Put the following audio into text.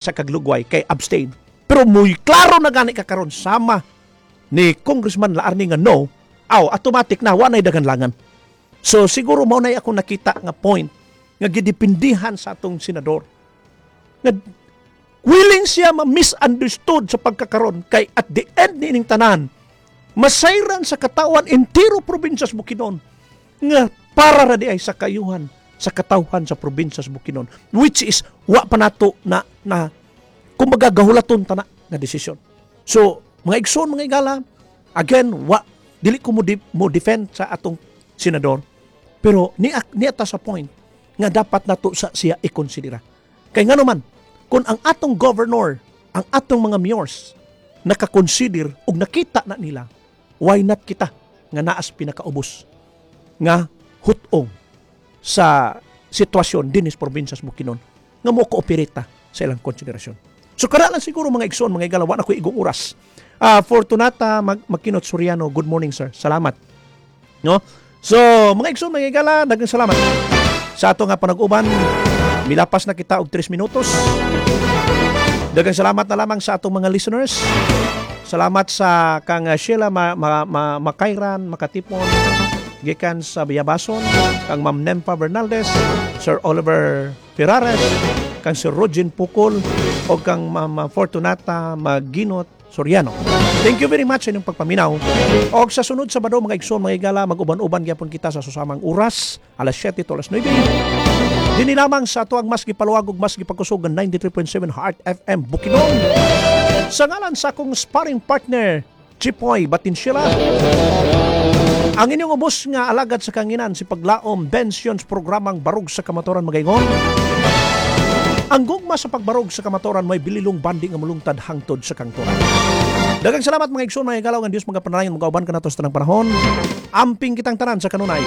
Sa kaglugway kay abstain. Pero muy klaro na gani ka karon sama ni Congressman Laarni nga no, aw automatic na wa nay daganlangan. So siguro mao nay ako nakita nga point nga gidipindihan sa atong senador. Nga willing siya ma-misunderstood sa pagkakaron kay at the end ni ining tanan masayran sa katawan entero probinsya sa Bukidnon nga para ra di ay sa kayuhan sa katawhan sa probinsya sa Bukidnon, which is wa pa nato na na kumbaga gahulaton tana nga desisyon. So mga igsoon, mga igala, again, wa dili ko mo defend sa atong senador, pero niya ta sa point nga dapat nato sa siya ikonsidera. Kay ngano man kung ang atong governor, ang atong mga mayors nakakonsider ug nakita na nila, why not kita nga naas pinakaubos nga hutong sa sitwasyon dinis probinsya sa Bukidnon nga mo kooperate ta sa ilang konsiderasyon? So kana lang siguro, mga igsoon, mga igala, wa na ko igong oras. Fortunata Makinot Soriano, good morning, sir. Salamat. No? So, mga igsoon, mga igala, daghang salamat sa ato nga panag-uban. Milapas na kita og 3 minutos. Daghang salamat na lamang sa atong mga listeners. Salamat sa kang Sheila Makayran Makatipon gikan sa Biyabason, kang Ma'am Nempa Bernaldez, Sir Oliver Ferrares, kang Sir Rogin Pukol, o kang Ma'am Fortunata Maginot Soriano. Thank you very much sa inyong pagpaminaw. Og sa sunod Sabado, mga igsoon, mga igala, mag-uban-uban gyapon kita sa susamang oras, alas 7 to alas 9. Dini lamang sa ato ang mas gipaluwag ug mas gipakusog ang 93.7 Heart FM Bukidnon. Sa ngalan sa akong sparring partner, Chipoy Batinsila, ang inyong ubos nga alagad sa kanginan, si Paglaom Bensions, programang Barog sa Kamatuoran, magaingon: Ang gugma sa pagbarog sa kamatuoran may bililong bandi nga mulungtad hangtod sa kangturan. Daghang salamat, mga igsoon, mga igalaw, nga Dios mga panalangin mga uban kanato sa tanang panahon. Amping kitang tanan sa kanunay.